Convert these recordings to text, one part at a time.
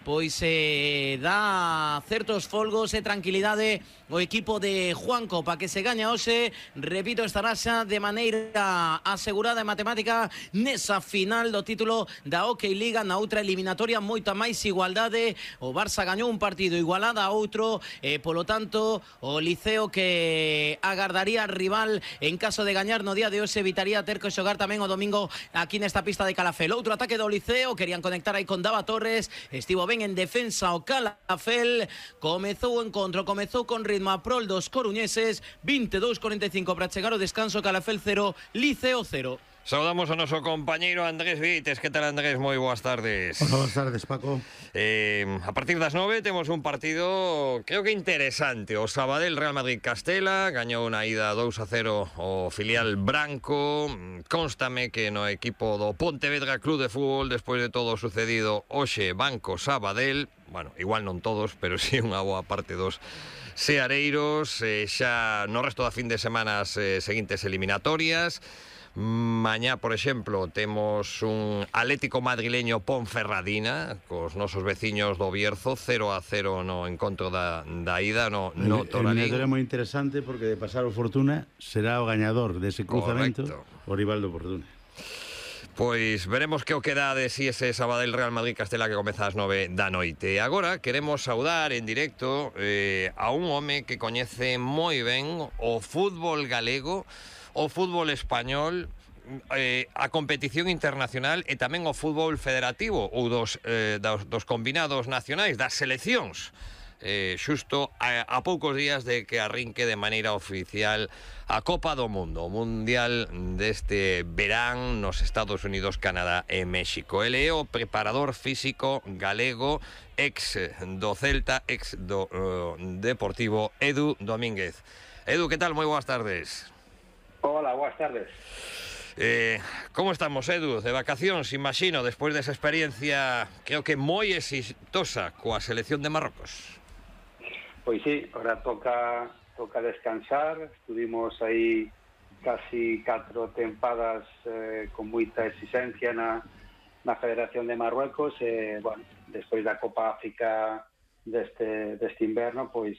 pois dá certos folgos e tranquilidade o equipo de Juan Copa, que se gaña hoxe, repito, estará xa de maneira asegurada en matemática nesa final do título da Hockey Liga. Na outra eliminatoria moita máis igualdade, o Barça gañou un partido igualada a outro, e polo tanto o Liceo, que agardaría rival en caso de gañar no día de hoxe, evitaría ter que xogar tamén o domingo aquí nesta pista de Calafel. Outro ataque do Liceo, querían conectar aí con Dava Torres, estivo ben en defensa o Calafel, comezou o encontro, comezou con ritmo a prol dos coruñeses. 22:45 para chegar o descanso. Calafel 0, Liceo 0. Saudamos a noso compañeiro Andrés Vites. Que tal, Andrés? Moi boas tardes. Hola, boas tardes, Paco. A partir das 9 temos un partido, creo que interesante. O Sabadell Real Madrid Castela gañou unha ida 2-0 o filial branco. Constame que no equipo do Pontevedra Club de Fútbol, despois de todo o sucedido hoxe, Banco Sabadell, bueno, igual non todos, pero sí unha boa parte dos seareiros, xa no resto da fin de semana as seguintes eliminatorias. Mañá, por exemplo, temos un Atlético madrileño Ponferradina cos nosos veciños do Bierzo, 0-0 no encontro da ida no Toralín. Eliminatoria moi interesante, porque de pasar o Fortuna será o gañador dese cruzamento. Correcto. O rival do Fortuna. Pois veremos que o que dá de si ese Sabadell Real Madrid Castela que comeza ás 9 da noite. Agora queremos saudar en directo a un home que coñece moi ben o fútbol galego, o fútbol español, a competición internacional e tamén o fútbol federativo ou dos combinados nacionais, das seleccións. Xusto a poucos días de que arrinque de maneira oficial a Copa do Mundo, o Mundial deste verán nos Estados Unidos, Canadá e México. Ele é o preparador físico galego, ex do Celta, ex do Deportivo, Edu Domínguez. Edu, que tal? Moi boas tardes. Hola, boas tardes. Como estamos, Edu? De vacacións, imagino, despois desa experiencia creo que moi exitosa coa selección de Marrocos. Pois sí, ahora toca descansar. Estuvimos aí casi 4 tempadas con moita exigencia na Federación de Marruecos. Bueno, despois da Copa África deste inverno, pois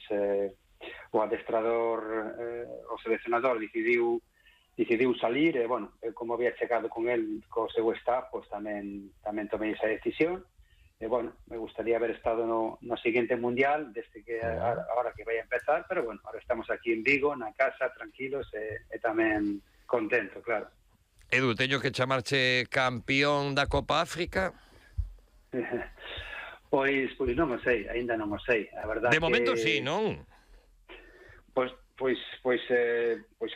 o adestrador, o seleccionador decidiu salir, e, bueno, como había chegado con el, co seu staff, pois tamén tomei esa decisión. E, bueno, me gustaría haber estado no siguiente Mundial, desde que ahora que vai a empezar, pero, bueno, ahora estamos aquí en Vigo, na casa, tranquilos, e tamén contento, claro. Edu, teño que chamarche campeón da Copa África? Pois non o sei, aínda non o sei, a verdade. De momento sí, non? Pois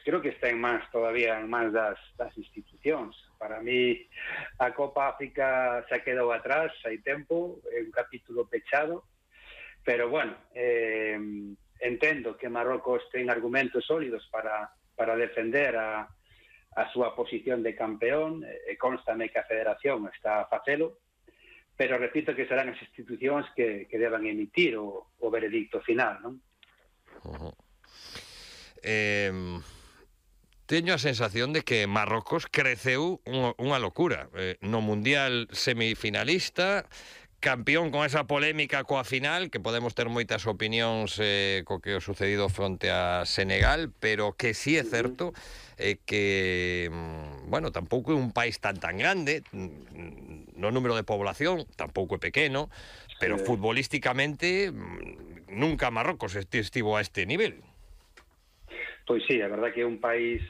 creo que está todavía en mans das institucións. Para mí a Copa África se quedou atrás, hai tempo, é un capítulo pechado, pero bueno, entendo que Marrocos ten argumentos sólidos para defender a súa posición de campeón, e constame que a Federación está a facelo, pero repito que serán as institucións que deban emitir o veredicto final, non? Teño a sensación de que Marrocos creceu unha locura. No Mundial semifinalista, campeón con esa polémica coa final, que podemos ter moitas opinións co que o sucedido fronte a Senegal, pero que sí é certo que, bueno, tampouco é un país tan grande, no número de población tampouco é pequeno, pero futbolísticamente nunca Marrocos estivo a este nivel. Pois sí, a verdade que é un país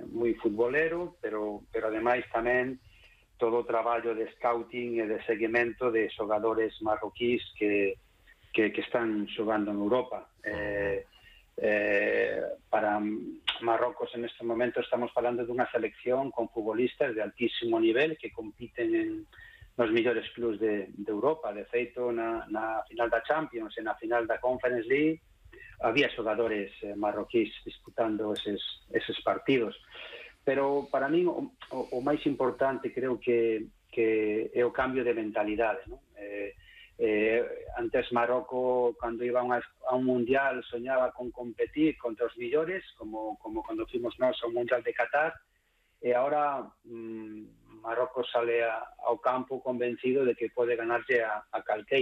moi futbolero, pero ademais tamén todo o traballo de scouting e de seguimento de xogadores marroquís que están xogando en Europa. Para Marrocos en este momento estamos falando dunha selección con futbolistas de altísimo nivel que compiten nos mellores clubs de Europa. De feito, na final da Champions e na final da Conference League había xogadores marroquís disputando eses partidos. Pero para mí o máis importante creo que é o cambio de mentalidade, non? Antes Marroco, cando iba a un mundial, soñaba con competir contra os millores, como cando fuimos nós ao mundial de Qatar, e agora Marrocos sale ao campo convencido de que pode ganarlle a calqueira.